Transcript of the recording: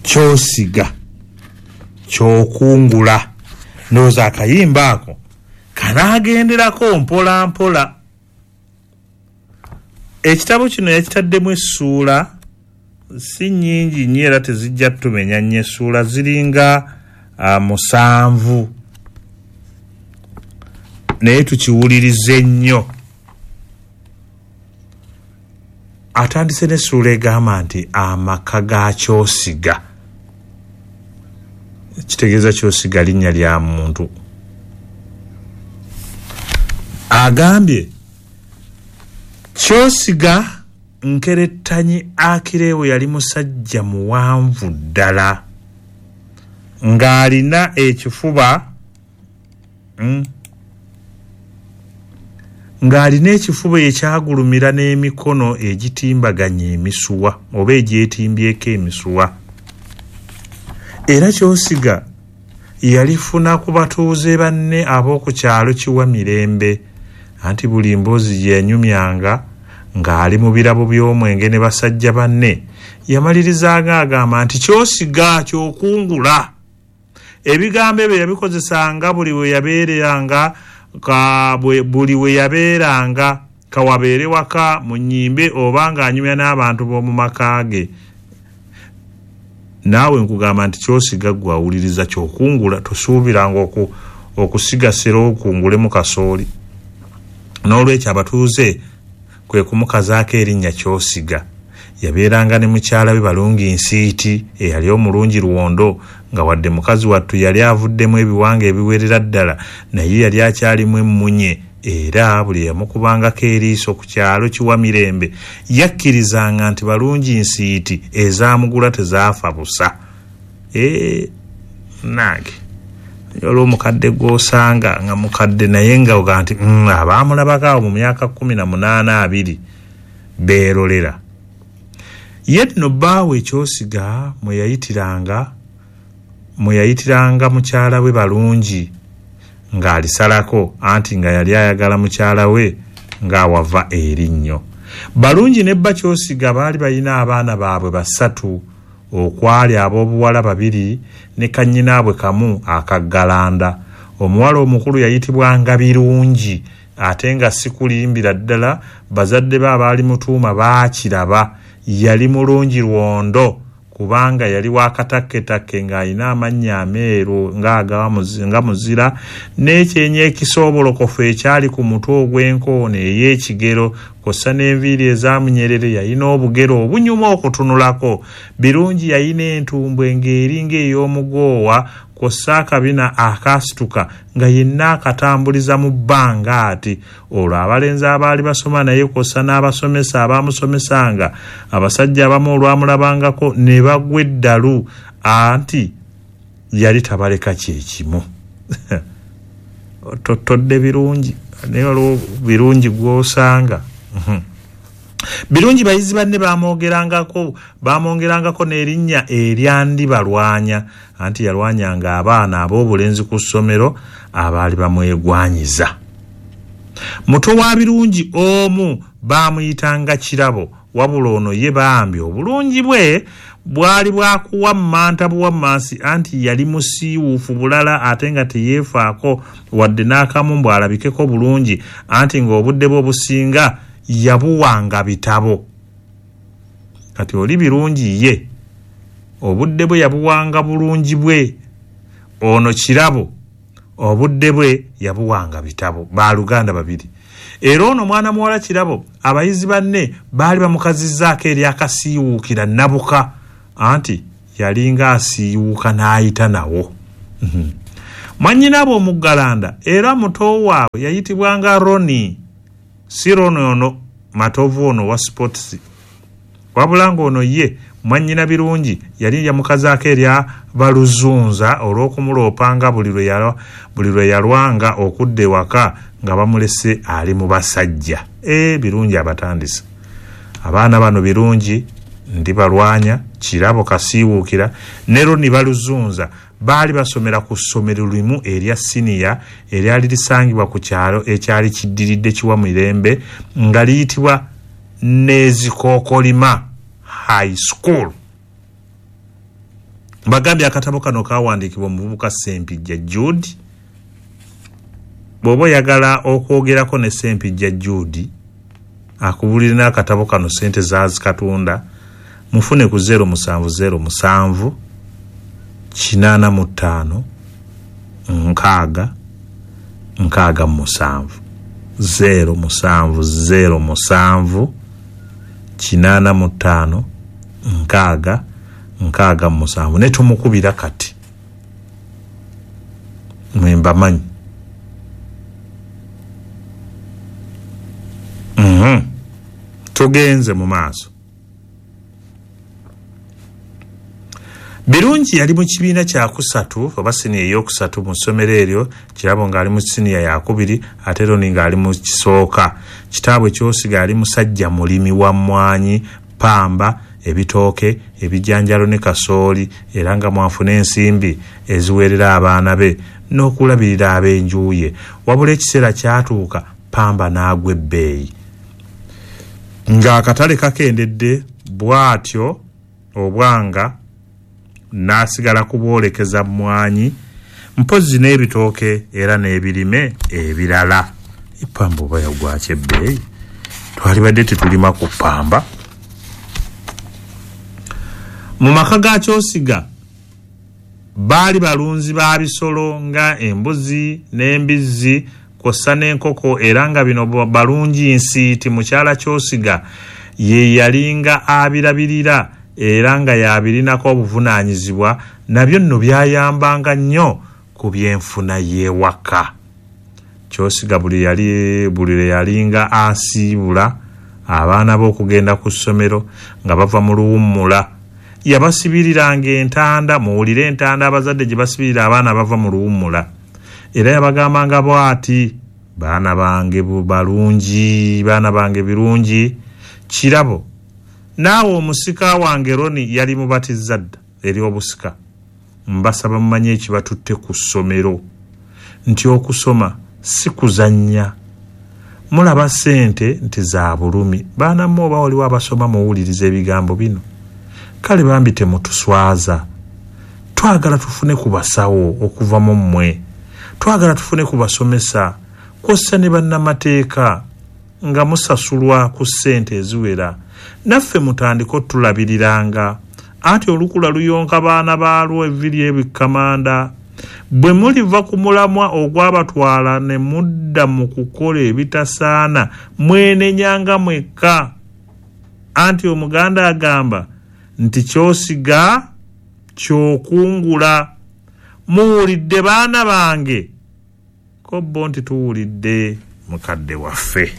Kyosiga kyokungula. Ndowooza akayimba ako kanaagenderako mpola mpola. Ekitabo kino yakitaddemu essuula si nnyingi nnyo era tezijja tumenya nnyo, essuula ziringa 7, naye tukiwulirize nnyo. Atandise n'essuula egamba nti amaka ga Kyosiga. Kitegeeza Kyosiga linnya lya muntu. Agambye Kyosiga nkerettanyi Akireewo yali musajja muwanvu ddala ng'alina ekifuba ng'alina ekifuba ekyagulumira n'emikono egitimbaganya emisuwa oba egyetimbyeko emisuwa. Era Kyosiga yalifuna ku batuuze banne ab'oku kyalo Kiwa Mirembe, anti buli mboozi gye yanyumyanga ng'ali mu birabo by'omwenge ne basajja banne yamalirizanga agamba nti Kyosiga kyokungula. Ebigambo ebyo yabikozesanga buli we yabeeranga kawabeere waka mu nnyimbe oba ng'anyumya n'abantu b'omu maka ge. Naawe nkugamba nti Kyosiga ggwe awuliriza kyokungula, tosuubiranga okusigasira okungulemu kasooli. N'olwekyo abatuuze kwe kumukazaako erinnya Kyosiga. Yabeeranga ne mukyala we Balungi Nsiiti eyali omulungi luwondo, nga wadde mukazi wattu yali avuddemu ebiwanga ebiwerera ddala, naye yali akyalimu emmunye, era buli yamukubangako eriiso ku kyalo Kiwa Mirembe yakkirizanga nti Balungi Nsiiti ezaamugula tezaafa busa. Nange olwo omukadde gw'osanga nga mukadde naye nga oga nti abaamulabako awo mu myaka 18 20 beerolera. Ye nno bbaawe Kyosiga mwe yayitiranga mukyala we Balungi ng'alisalako, anti nga yali ayagala mukyala we ng'awava erinnyo. Balungi ne bba Kyosiga baali balina abaana baabwe 3, okwali ab'obuwala 2 ne kannyinaabwe kamu akaggalanda. Omuwala omukulu yayitibwanga Birungi, ate nga si kulimbira ddala bazadde be abaali mutuuma baakiraba yali mulungi lwondo, kubanga yali wakatakketakke ng'alina amannya ameeru nga muzira, n'ekyenyi ekisoobolokofu ekyali ku mutwe ogw'enkoona ey'ekigero kw'ossa n'enviiri ezaamunyerere. Yalina obugere obunyuma okutunulako. Birungi yalina entumbwe ng'eringa ey'omugoowa kw'ossa akabina akaasituka nga yenna akatambuliza mu bbanga ati. Olwo abalenzi abaali basoma naye kw'ossa n'abasomesa abaamusomesanga, abasajja abamu olwamulabangako ne bagwa eddalu, anti yali tabaleka kyekimu. Totodde Birungi, naye waliwo Birungi gw'osanga. Birungi bayizi banne bamwongerangako n'erinnya erya Ndibalwanya, anti yalwanyanga abaana ab'obulenzi ku ssomero abaali bamwegwanyiza. Muto wa Birungi omu baamuyitanga Kirabo, wabula ono ye bambi obulungi bwe bwali bwakuwa mmanta buwammansi, anti yali musiiwuufu bulala ate nga teyeefaako wadde n'akamu mbu alabikeko bulungi, anti ng'obudde bwe obusinga yabuwanga bitabo. Kati oli Birungi ye obudde bwe yabuwanga bulungi bwe, ono Kirabo obudde bwe yabuwanga bitabo. Baaluganda 2. Era ono mwana muwala Kirabo abayizi banne baali bamukazizzaako eryakasiiwuukira Nabuka, anti yalinga asiiwuuka n'ayita nawo. Mwannyinaabwe omuggalanda era muto waabwe yayitibwanga Roni, si Roni ono Matovu ono wa sports, wabula ng'ono ye mwannyina Birungi yali yamukazaako erya Baluzunza olw'okumuloopanga buli lwe yalwanga okudda ewaka nga bamulese ali mu basajja. Birungi abatandise abaana bano Birungi, Ndibalwanya, Kirabo Kasiiwuukira ne Roni Baluzunza baali basomera ku ssomero limu erya siniya eryali lisangibwa ku kyalo ekyali kiddiridde Kiwa Mirembe nga liyitibwa Nezikookolima High School. Mbagambye akatabo kano kawandiikibwa omuvubuka Ssempijja Jude. Bw'oba oyagala okwogerako ne Ssempijja Jude akubulire n'akatabo kano ssente zaazikatunda, mufune ku 0707 85 6 67 0707 85 6 67. Ne tumukubira kati mwembamanyi. Tugenze mu maaso. Birungi yali mu kibiina kyakusatu oba siniya eyokusatu mu ssomero eryo, Kirabo ng'ali mu siniya yakubiri ate Roni ng'ali mu kisooka. Kitaabwe Kyosiga yali musajja mulimi wa mmwanyi, pamba, ebitooke, ebijanjalo ne kasooli, era nga mwafuna ensimbi eziweerera abaana be n'okulabirira ab'enju ye. Wabula ekiseera kyatuuka pamba n'agwa ebbeeyi ng'akatale kakendedde, bw'atyo obwanga n'asigala kubwolekeza mmwanyi mpozzi n'ebitooke era n'ebirime ebirala. Epamba oba yagwaki ebbeeyi? Twalibadde tetulima ku pamba. Mu maka ga Kyosiga baali balunzi ba bisolo nga embuzi n'embizzi kw'ossa n'enkoko, era nga bino balungi nsiiti mukyala Kyosiga ye yalinga abirabirira era nga yabirinako obuvunaanyizibwa, nabyo nno byayambanga nnyo ku byenfuna y'ewaka. Kyosiga buli lwe yalinga asiibula abaana be okugenda ku ssomero nga bava mu luwummula, yabasibiriranga entanda. Muwulire entanda abazadde gye basibirira abaana bava mu luwummula. Era yabagambanga bw'ati, baana bange balungi, baana bange birungi, Kirabo naawe omusika wange Roni yali mubatiza dda eri obusika, mbasaba mumanye ekibatutte ku ssomero nti okusoma si kuzannya. Mulaba ssente nti za bulumi. Baana mmwe oba waliwo abasoma muwuliriza ebigambo bino, kale bambi temutuswaza. Twagala tufune ku basawo okuva mu mmwe, twagala tufune ku basomesa kw'ossa ne bannamateeka nga musasulwa ku ssente eziwera, naffe mutandike otulabiriranga. Anti olukula luyonka baana baalwo evviri ebikkamanda. Bwe muliva ku mulamwa ogwabatwala ne mudda mu kukola ebitasaana, mwenenyanga mwekka. Anti Omuganda agamba nti ky'osiga ky'okungula. Muwulidde baana bange? Ko bo nti tuwulidde mukadde waffe.